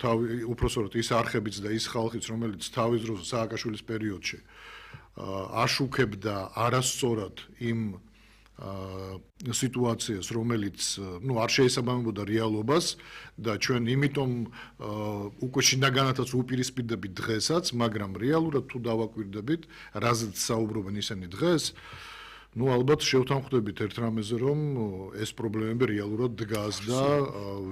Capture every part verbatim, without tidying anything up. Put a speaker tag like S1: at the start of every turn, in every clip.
S1: თავი უпроსორот ის არხებიც და ის ხალხიც რომელიც თავის დროს სააკაშვილის პერიოდში აშუქებდა არასწორად იმ სიტუაციას რომელიც ნუ არ შეესაბამებოდა რეალობას და ჩვენ იმიტომ უკვე შინაგანათაც უპირისპირდებით დღესაც მაგრამ რეალურად თუ დავაკვირდებით რაზეც საუბრობენ ისინი დღეს ну ალბათ შევთანხმდებით ერთ რამეზე რომ ეს პრობლემები რეალურად დგას და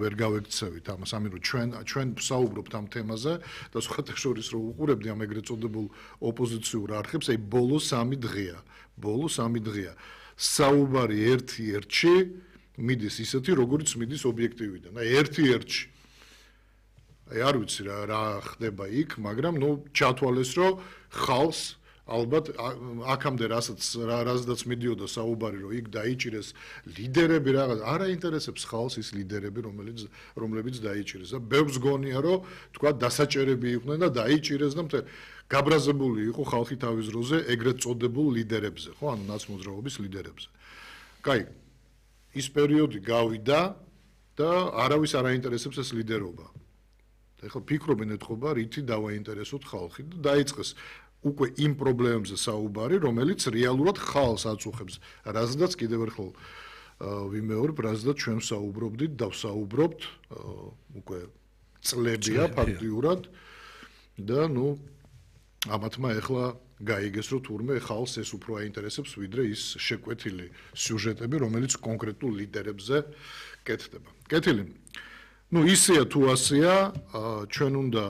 S1: ვერ გავექცევით ამას ამიტომ ჩვენ ჩვენ ვსაუბრობთ ამ თემაზე და სხვათა შორის რომ უყურებდი ამ ეგრეთ წოდებულ ოპოზიციურ არხებს აი ბოლო სამი დღეა ბოლო სამი დღეა საუბარი ერთი ერთში მიდის ისეთი როგორც მიდის ობიექტივიდან აი ერთი ერთში აი არ ვიცი რა რა ხდება იქ მაგრამ ნუ ჩათვალეს რომ ხალხს ალბათ აქამდე რასაც რაზედაც მიდიოდა საუბარი რომ იქ დაიჭირეს ლიდერები რაღაც არ აინტერესებს ხალხს ის ლიდერები რომელიც რომლებიც დაიჭირეს და ბევრს გონია რომ თქვა დასაჭერები იყვნენ და დაიჭირეს და მთელ გაბრაზებული იყო ხალხი თავის დროზე ეგრეთ წოდებულ ლიდერებზე ხო ანუ ნაცმოძრაობის ლიდერებზე კაი ის პერიოდი გავიდა და არავის არ აინტერესებს ეს ლიდერობა და ეხლა ფიქრობენ ეთქობა რითი დავაინტერესოთ ხალხი და დაიწყეს უკვე იმ პრობლემებზე საუბარი, რომელიც რეალურად ხალხს აწუხებს. რაზედაც კიდევ ერთხელ ვიმეორებ, რაზედაც ჩვენ საუბრობდით და ვსაუბრობთ უკვე წლებია ფაქტიურად და ნუ ამათმა ეხლა გაიგეს რომ თურმე ხალხს ეს უფრო აინტერესებს ვიდრე ის შეკვეთილი სიუჟეტები, რომელიც კონკრეტულ ლიდერებზე კეთდება. კეთილი. ნუ ისეა თუ ასეა, ჩვენ უნდა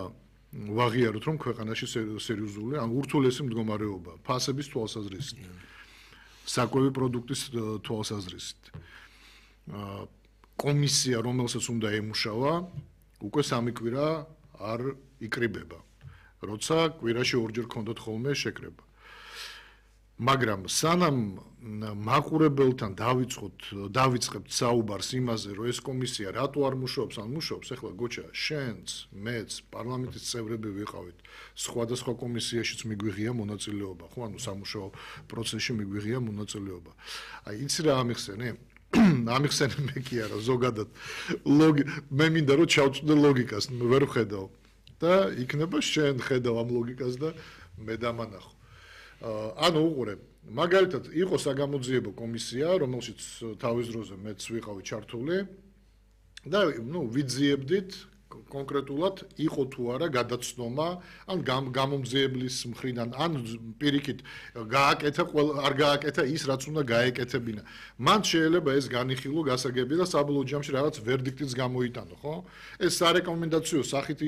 S1: ვაღიაროთ რომ ქვეყანაში სერიოზული ან ურთულესი მდგომარეობა ფასების თვალსაზრისით საკვები პროდუქტის თვალსაზრისით კომისია რომელსაც უნდა ემუშავა უკვე სამი კვირა არ იკრიბება როცა კვირაში ორჯერ ქონდათ ხოლმე შეკრება მაგრამ სანამ მაყურებელთან დავიწყოთ დავიწყებთ საუბარს იმაზე რომ ეს კომისია რატო არ მუშაობს ან მუშაობს ეხლა გოჩა შენც მეც პარლამენტის წევრები ვიყავით სხვადასხვა კომისიაშიც მიგვიღია მონაწილეობა ხო ანუ სამუშაო პროცესში მიგვიღია მონაწილეობა აი იცი რა ამიხსენე ამიხსენე მე კი არა ზოგადად ლოგი მე მინდა რომ ჩავწვდე ლოგიკას ვერ ვხედავ და იქნება შენ ხედავ ამ ლოგიკას და მე დამანახო ანუ უყურე მაგალითად იყო საგამოძიებო კომისია რომელშიც თავის დროზე მეც ვიყავი ჩართული და ნუ ვიძიებდით კონკრეტულად იყო თუ არა გადაცნობა ან გამომძიებლის მხრიდან ან პირიქით გააკეთა არ გააკეთა ის რაც უნდა გაეკეთებინა მან შეიძლება ეს განიხილო გასაგები და საბოლოო ჯამში რაღაც ვერდიქტიც გამოიტანო ხო ეს სარეკომენდაციო სახით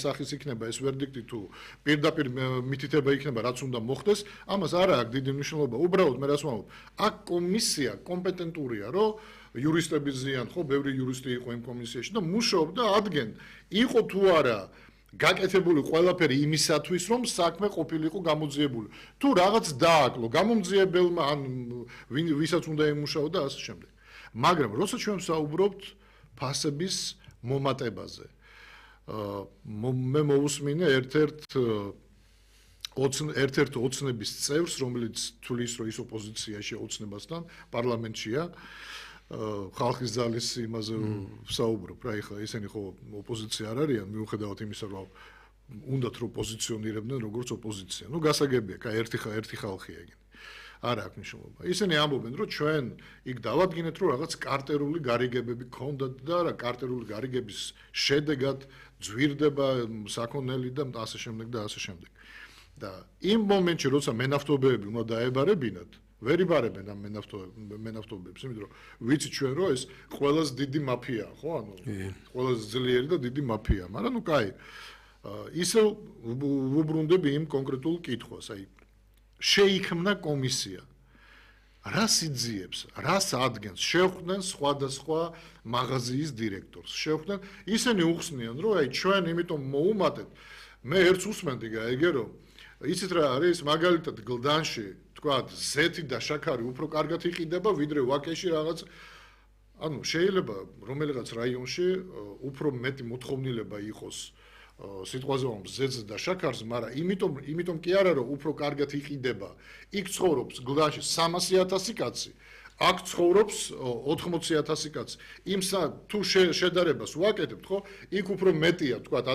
S1: სახის იქნება ეს ვერდიქტი თუ პირდაპირ მითითება იქნება რაც უნდა მოხდეს ამას არა აქვს დიდი მნიშვნელობა უბრალოდ მე რას ვამბობ აქ კომისია კომპეტენტურია რომ იურისტები ზიან ხო ბევრი იურისტი იყო იმ კომისიაში და მუშაობდა ადგენ იყო თუ არა გაკეთებული ყველაფერი იმისათვის რომ საქმე ყოფილიყო გამოძიებული თუ რაღაც დააკლო გამომძიებელმა ან ვისაც უნდა ემუშაოდა ასე შემდეგ მაგრამ როცა ჩვენ საუბრობთ ფასების მომატებაზე მე მოვუსმინე ერთ-ერთ ერთ-ერთ ოცნების წევრს რომელიც თulis რომ ის ოპოზიციაში ოცნებასთან პარლამენტშია ხალხის ძალის იმაზე ვსაუბრობ რა ეხლა ისინი ხო ოპოზიცია არ არიან მიუხედავად იმისა რომ უნდათ რომ პოზიციონირებდნენ როგორც ოპოზიცია ნუ გასაგებია კაი ერთი ერთი ხალხია ეგენი არა აქვს მნიშვნელობა ისინი ამბობენ რომ ჩვენ იქ დავადგინეთ რომ რაღაც კარტერული გარიგებები ქონდათ და რა კარტერული გარიგების შედეგად ძვირდება საქონელი და ასე შემდეგ და ასე შემდეგ და იმ მომენტში როცა მენავთობეები უნდა დაებარებინათ ვერ იბარებენ ამ მენავთობებს იმიტომ რომ ვიცი ჩვენ რომ ეს ყველაზე დიდი მაფიაა ხო ანუ ყველაზე ძლიერი და დიდი მაფია მაგრამ ნუ კაი ისე ვუბრუნდები იმ კონკრეტულ კითხვას აი შეიქმნა კომისია რას იძიებს რას ადგენს შევხვდნენ სხვადასხვა მაღაზიის დირექტორს შევხვდნენ ისინი უხსნიან რომ აი ჩვენ იმიტომ მოუმატეთ მე ერთს უსმენდი გაიგე რომ იცით რა არის მაგალითად გლდანში თქვათ ზეთი და შაქარი უფრო კარგად იყიდება ვიდრე ვაკეში რაღაც ანუ შეიძლება რომელიღაც რაიონში უფრო მეტი მოთხოვნილება იყოს სიტყვაზე ვამბობ ზეთს და შაქარს მაგრამ იმიტომ იმიტომ კი არა რომ უფრო კარგად იყიდება იქ ცხოვრობს გლდანში სამასი ათასი კაცი აქ ცხოვრობს ოთხმოცი ათასი კაცი იმ თუ შედარებას ვაკეთებთ ხო იქ უფრო მეტია თქვათ